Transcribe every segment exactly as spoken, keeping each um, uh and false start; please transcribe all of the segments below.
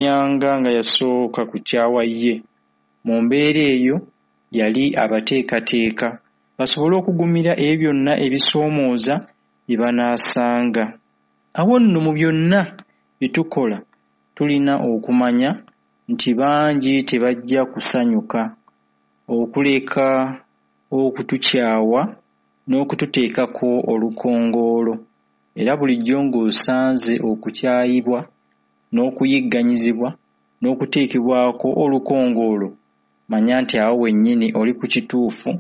Yanyanga nga yasooka kukyawa ye. Mu mbeera eyo yali abateekateeka basobole okugumira ebyo byonna ebisoomooza bye banaasanga. Awo nno mu byonna bye tukola tulina okumanya nti bangi tebajja kusanyuka, okuleka okutukyawa n'okututeekako olukongoolo. Era bulijjo ng'osanze okukyayibwa n'okuyigganyizibwa n'okuteekebwako olukongoolo, manya nti awo wennyini oli ku kituufu,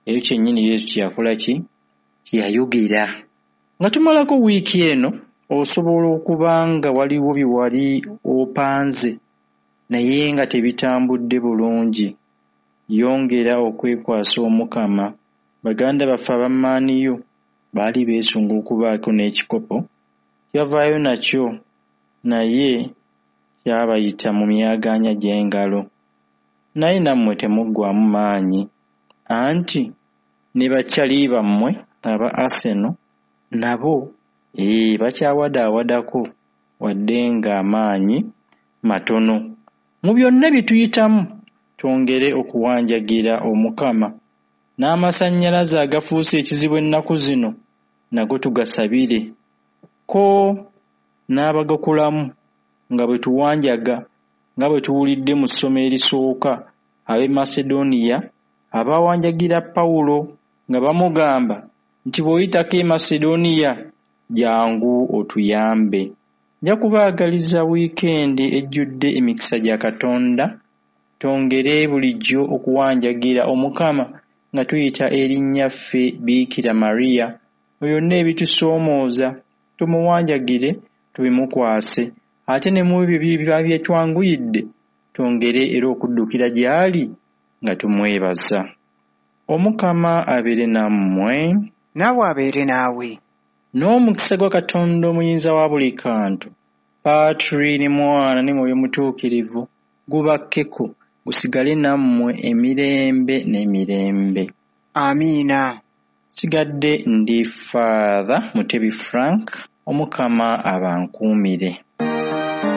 ekyo kyennyini Yesu kye yakola ki? Kye yayogera. Nga tumalako wiiki eno, osobola okuba nga waliwo bye wali opanze naye nga tebitambudde bulungi. Yongera okwekwasa Omukama. Baganda baffe aba Man U baali beesunga okubaako n'ekikopo kye bavaayo nakyo naye kyabayita mu myagaanya gy'engalo. Naye nammwe temuggwaamu maanyi anti ne bakyali bammwe aba Arsenal nabo ee bakyawadaawadako wadde ng'amaanyi matono. Mu byonna bye tuyitamu twongere okuwanjagira Omukama n'amasannyalaze agafuuse ekizibu ennaku zino nago tugasabire ko n'abagakolamu nga bwe tuwanjaga nga bwe tuwulidde mu ssomo erisooka ab'e Macedonia abaawanjagira Pawulo nga bamugamba nti bw'oyitako e Macedonia jjangu otuyambe. Nja kubaagaliza wiikendi ejjudde emikisa gya Katonda, twongere bulijjo okuwanjagira Omukama nga tuyita eri Nnyaffe Bikira Maria mu byonna ebitusoomooza tumuwanjagire tubimukwase ate ne mu ebyo ebiba bitwanguyidde twongere era okuddukira gy'ali nga tumwebaza. Omukama abeere nammwe. Naawe abeere naawe. N'omukisa gwa Katonda omuyinza wa buli kantu, Patri ne Mwana ne Mwoyo Mutuukirivu gubakkeko gusigale nammwe emirembe n'emirembe. Amiina. Nsigadde ndi Father Mutebi Frank, Omukama abankuumire.